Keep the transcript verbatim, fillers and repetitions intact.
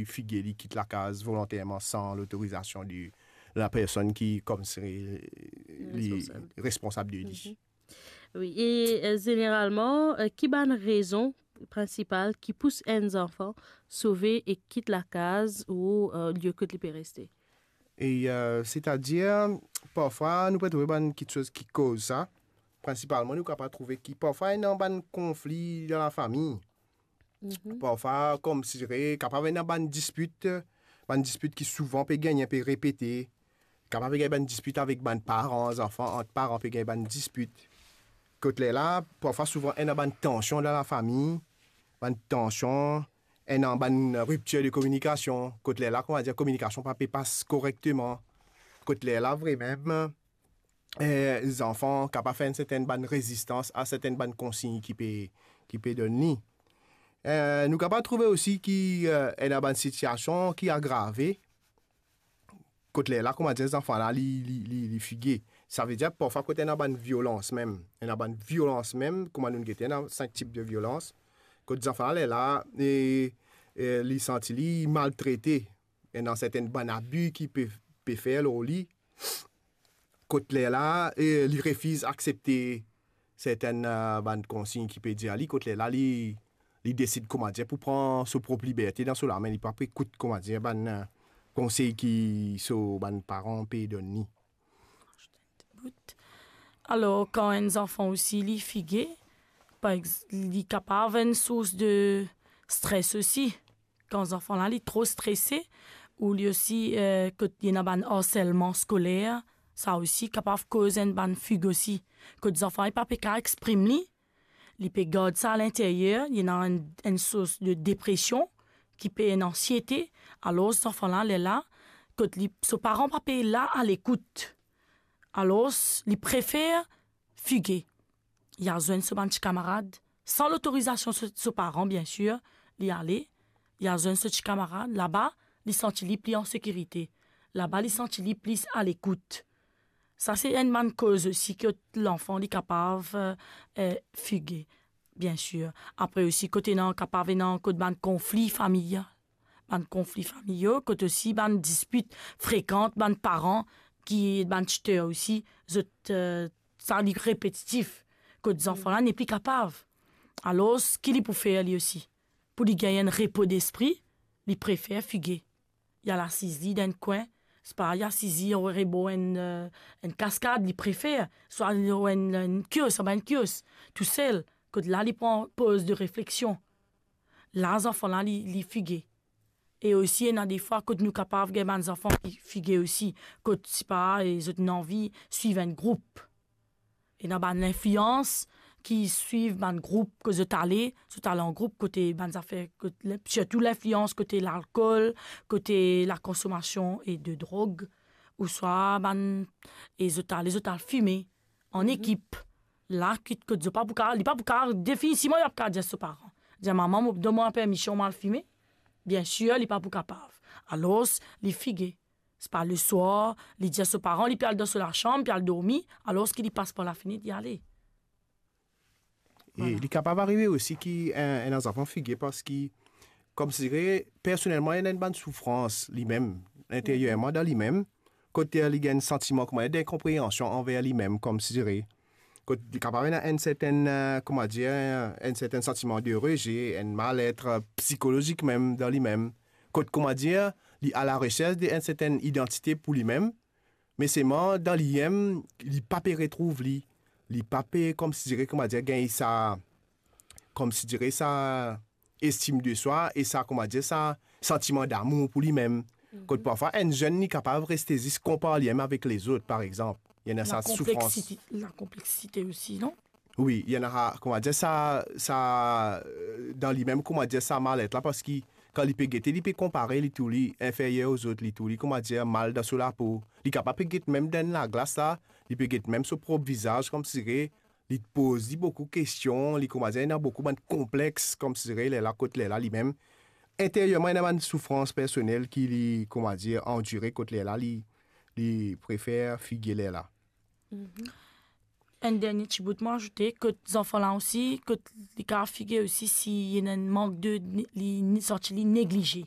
fige, li kit lakaz volonterman san lotorizasion de lapersonn ki, koumsi, li responsab, responsab de li. Mhm. Wi, e, e, zeneralman, e, ki bann rezon prinsipal ki pous enn zanfan sove e kit lakaz ou, e, lie kot li pe reste? E, e, setadir, parfwa nou pe trouve bann kiksoz ki koz sa. Prinsipalman, nou kapav trouve ki parfwa ena bann konfli dan lafami. Mhm. Parfwa, koumsi, kapav ena bann dispit, bann dispit ki souvan pe gagne, pe repete. Kapav pe gagn bann dispit avek bann paran, zanfan, ant paran pe gagn bann dispit. Kot lerla, parfwa souvan ena bann tansion dan lafami, bann tansion, ena bann riptir de kominikasion. Kot lerla, kouma dir, kominikasion pa pe pas korekteman. Kot lerla, vremem, e, zanfan kapav fer enn sertenn bann rezistans a sertenn bann konsign ki pe, ki pe donn li. E, nou kapav trouve osi ki, e, ena bann sitiasion ki agrave. Kot lerla, kouma dir, zanfan la, li, li, li, li fige. Savedir, parfwa kot ena bann violans mem, ena bann violans mem, kouma nou gete, ena sink tip de violans. Kot zanfan la, lerla, e, e, li santi li maltrete, ena sertenn bann abi ki pe, pe fer lor li. Kot lerla, e, li refiz aksepte sertenn, e, bann konsign ki pe dir li, kot lerla li, li desid, kouma dir, pou pran so prop liberte dan so lame, li pa pe ekout, kouma dir, bann, e, konsey ki so bann paran pe donn li. Alor, kan enn zanfan osi li fige, par ex-, li kapav enn sours de stres osi. Kan zanfan la, li tro strese, ou li osi, e, kot li ena bann arselman skoler, sa osi kapav koz enn bann fig osi. Kot zanfan li pa pe kapav exprim li, li pe gard sa alinteryer, li ena enn, enn sours de depresion, ki pe enn ansiete, alor zanfan la, lerla, kot li, so paran pa pe la alekout. Alor, li prefer fige. Li al zwenn so bann ti kamarad, san lotorizasion so, so paran, biensir, li ale, li al zwenn so ti kamarad, laba, li santi li pli an sekirite. Laba, li santi li plis alekout. Sa se enn bann koz osi ki lanfan li kapav, e, e, fige, biensir. Apre osi, kot ena, kapav ena kot bann konfli familial. Bann konfli familial, kot osi bann dispit frekan, bann paran ki, bann titer osi, zot, e, sa li repetitif, kot zanfan la nepli kapav. Alor, ki li pou fer li osi? Pou li gagn enn repo despri, li prefer fige. Li al asiz li dan enn kwin, swa li asiz li rebor enn, e, enn kaskad, li prefer, swa lor enn, enn kios, anba enn kios, tousel, kot la li pran poz de refleksion. La, zanfan la, li, li fige. E osi, ena defwa kot nou kapav gagn bann zanfan ki fige osi, kot, swa, e, zot ena anvi swiv enn group. Ena bann linflians ki swiv bann group kot zot ale, zot al an group kote bann zafer, kot, sirtou linflians kote lalkol, kote lakonsomasion e de drog, ouswa bann, e zot ale, zot al fime an ekip. La, ki, kot zot pa pou kapav, li pa pou kapav, definitivman, li pa pou kapav dir so paran, dir, "Mama, mo, donn mwa permision, mo al fime." Biensir, li pa pou kapav. Alor, li fige. Swa leswar, li dir so paran, li pe al dan so lasam, pe al dormi, alor ki li pas par lafinet, li ale. E li kapav arive osi ki enn, enn zanfan fige parski, koumsi, personelman, li ena enn bann soufrans limem, interierman dan limem, kot li gagn santiman kouma enn inkonpreansion anver limem, koumsi, kot li kapav ena enn sertenn, e, kouma dir, enn sertenn santiman de reze, enn malet, e, psikolozik mem dan limem. Kot, kouma dir, li a la resers de enn sertenn idantite pou limem, me selman dan limem, li pa pe retrouv li, li pa pe, koumsi, kouma dir, gagn sa, koumsi, sa estim de swa e sa, kouma dir, sa santiman damour pou limem. Kot parfwa enn zenn, li kapav reste zis konpar limem avek lezot, par exanp. Li ena sa soufrans. Lakonpleksite, lakonpleksite osi, non? Wi, li ena, kouma dir, sa, sa, e, dan limem, kouma dir, sa malet la, parski kan li pe gete, li pe konpare li tou li inferier ozot, li tou li, kouma dir, mal dan so lapo. Li kapav pe get mem dan laglas la, li pe get mem so prop vizaz, koumsi li poz li boukou kestion, li, kouma dir, ena boukou bann konplex, koumsi lerla kot lerla limem, interierman, ena bann soufrans personel ki li, kouma dir, andire, kot lerla li, li prefer fige lerla. Enn dernie ti bout, mo azoute, kot zanfan la osi, kot li kapav fige osi si li ena enn mank de, li, li santi li neglize.